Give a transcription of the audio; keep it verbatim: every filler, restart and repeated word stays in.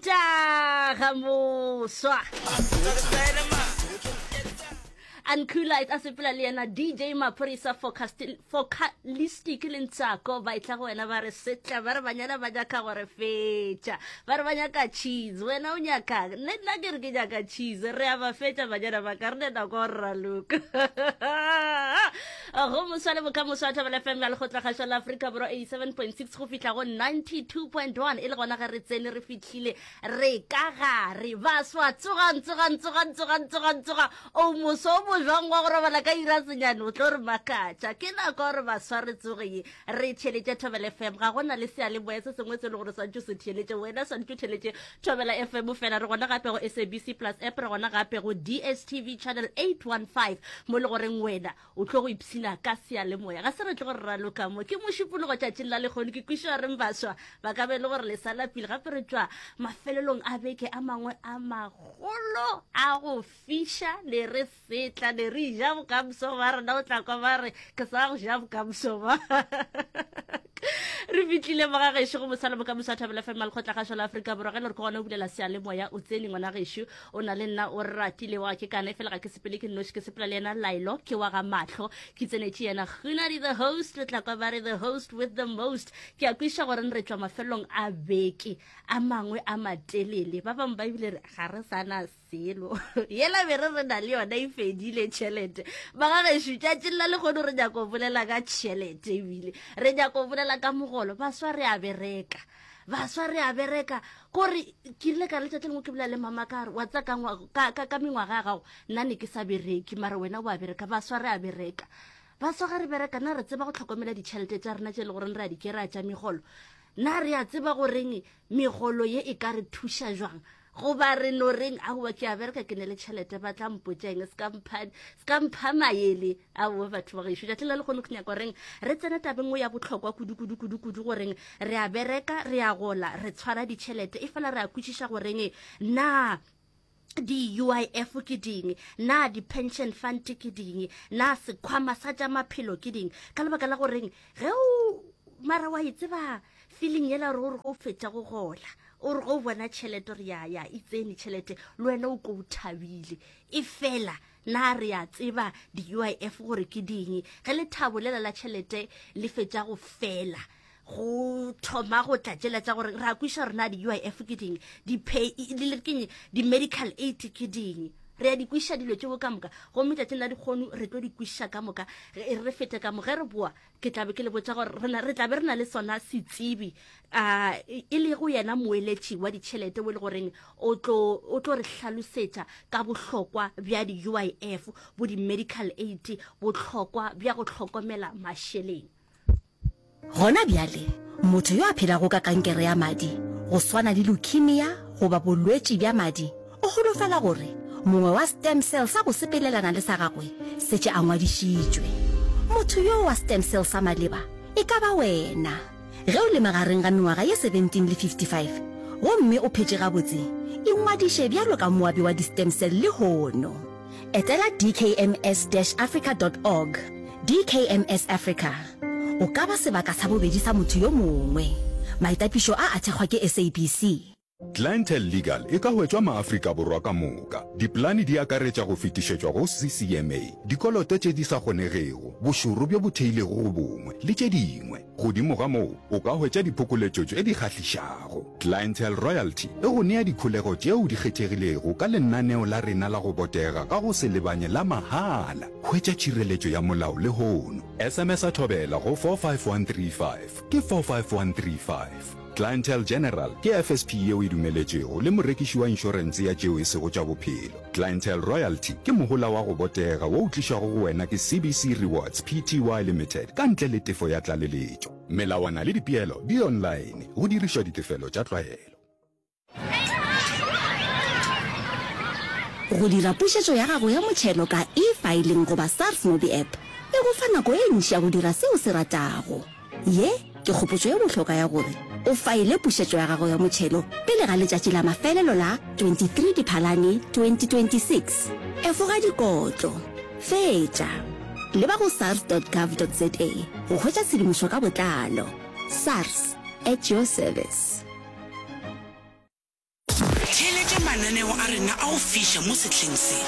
Taga moswa. Uncoolite a sepela le yena D J Maphorisa Focalistic le Ntsako ba etla go wena ba re setla ba re banyana ba nyaka gore fetša ba re ba nyaka cheese wena o nyaka nne nna ke re ke nyaka cheese re a ba fetša banyana ba ka re ne nako gore raloka go moswa le bokamoso wa Thobela F M ya Lekgotlakgašo la Afrika Borwa eighty-seven point six go fihla go ninety-two point one e le gona ge re tsene re fihlile re ka gare baswa tsogang tsogang tsogang tsogang tsogang tsoga o moso o mojwang wa go robala ka ira senyane o tlo re makatša ke nako gore baswa re tsoge ye re theletše Thobela F M ga gona le seyalemoya se sengwe se e le gore swantse o se theletše wena swantse o theletše Thobela F M fela re gona gape go S A B C Plus app re gona gape go D S T V channel eight one five mo le goreng wena o tlo go ipshina ka seyalemoya ga se re tlo gore raloka mo ke mošupologo tšatšing la lekgono ke kwešiša reng baswa ba ka be le gore le sa lapile gape re tšwa mafelelong a beke a mangwe a magolo a go fiša le re setla le re ja bokamoso ba rena o tla kwa ba re ke sa go ja bokamoso ba re fitlhile mo ga gešo go mosala bokamoso wa Thobela F M Lekgotlakgašo la Afrika Borwa ge le gore ke gona o bulela seyalemoya o tsene ngwana gešo o na le nna o ratile wa ke kana fela ga ke sepele ke nnoši ke sepela le yena Lailo ke wa ga mahlo ke tsenetše yena Gunadi the host le tla kwa ba re the host with the most ke a kweša gore re tšwa mafelelong a beke a mangwe a matelele ba bangwe ba ebile re ga re sana selo yela be re re na le yona e fedile tšhelete ba ga gešo tšatšing la lekgono re nyako bolela ka tšhelete ebile re nyako bolela ka mogolo baswa re a bereka baswa re a bereka kore ke rile ka letšatši lengwe ke bolela le mama ka re wa tsa ka ngwa- ka- ka ka mengwaga ya gago nna ne ke sa bereke mara wena o a bereka baswa re a bereka baswa ga re bereka na re tseba go tlhokomela ditšhelete tša rena tše e le goreng re a di kry-a tša megolo na re a tseba goreng megolo ye e ka re thuša jwang goba re no reng aowa ke a bereka ke ne le tšhelete ba tla mpotšeng se ka mpha maele aowa batho ba gešo tšatši la lekgono ke nyaka goreng re tsene tabeng o ya bohlokwa kudu kudu kudu kudu goreng re a bereka re a gola re tshwara ditšhelete e fela re a kwešiša goreng na di-U I F ke ding na di-pension fund ke ding na sekhwama sa tša maphelo ke ding ka lebaka la goreng ge o mara wa e tseba feeling yela gore gore go fetša go gola o re go bona tšhelete gore ya ya e tsene tšhelete le wena o ko o thabile e fela na re a tseba di-U I F gore ke ding ge lethabo lela la tšhelete le fetša go fela go thoma go tla tšela tša gore re a kweša rena di-U I F ke ding di-pay keng di-medical aid ke ding re a di kweša dilo tšeo ka moka gomme tšatšing la dikgono re tlo di kwešiša ka moka re fete ka mo ge re boa ke tlabe ke le botša gore re tlabe re na le sona setsebi um e le go yena moeletši wa ditšhelete o e le goreng o tlo re hlalosetša ka bohlokwa bja di-U I F bo di-medical aid bohlokwa bja go hlokomela mašeleng. Gona bjale motho yo a phelago ka kankere ya madi go swana le leukemia goba bolwetši bja madi o holofela gore mongwe wa stem cell sa go sepelelana le sa gagwe setše a ngwadišitšwe. Motho yo wa stem cell sa maleba e ka ba wena. Ge o le magareng ga mengwaga ye seventeen le fifty-five gomme o phetše gabotse, ingwadiše bjalo ka moabi wa di-stem cell lehono. Etela D K M S dash africa dot org. D K M S Africa. O ka ba sebaka sa bobedi sa motho yo mongwe. Maitapišo a a thekgwa ke S A B C. Clientele Legal e ka hwetšwa maAfrika Borwa ka moka. Dipolane di akaretša go fetišetšwa go C C M A, dikoloto tše di sa kgonegego, bošoro bjo bo theilego go bongwe, le tše dingwe. Godimo ga moo, o ka hwetša diphokoletšo tše di kgahlišago. Clientele Royalty e go nea dikholego tšeo di kgethegilego ka lenaneo la rena la go botega ka go se lebanye la mahala. Hwetša tšhireletšo ya molao lehono. S M S a Thobela go four five one three five ke four five one three five. Clientele General ke F S P yeo e dumeletšwego le morekiši wa inšorense ya tšeo e sego tša bophelo. Clientele Royalty ke mohola wa go botega wo o tlišwago go wena ke C B C Rewards P T Y Limited ka ntle le tefo ya tlaleletšo. Melawana le dipeelo di online go dirišwa ditefelo tša tlwaelo. Go dira pušetšo ya gago ya motšhelo ka eFiling goba SARS MobiApp e go fa nako e ntši ya go dira seo o se ratago. Ye ke kgopotšo ye bohlokwa ya gore o faele pušetšo ya gago ya motšhelo pele ga letšatši la mafelelo la twenty-three Diphalane twenty twenty-six. Efoga dikotlo. Fetša. Leba go sars dot gov dot za go hwetša tshedimošo ka botlalo. SARS, at your service. Theeletša mananeo a rena a go fiša mo sehleng se.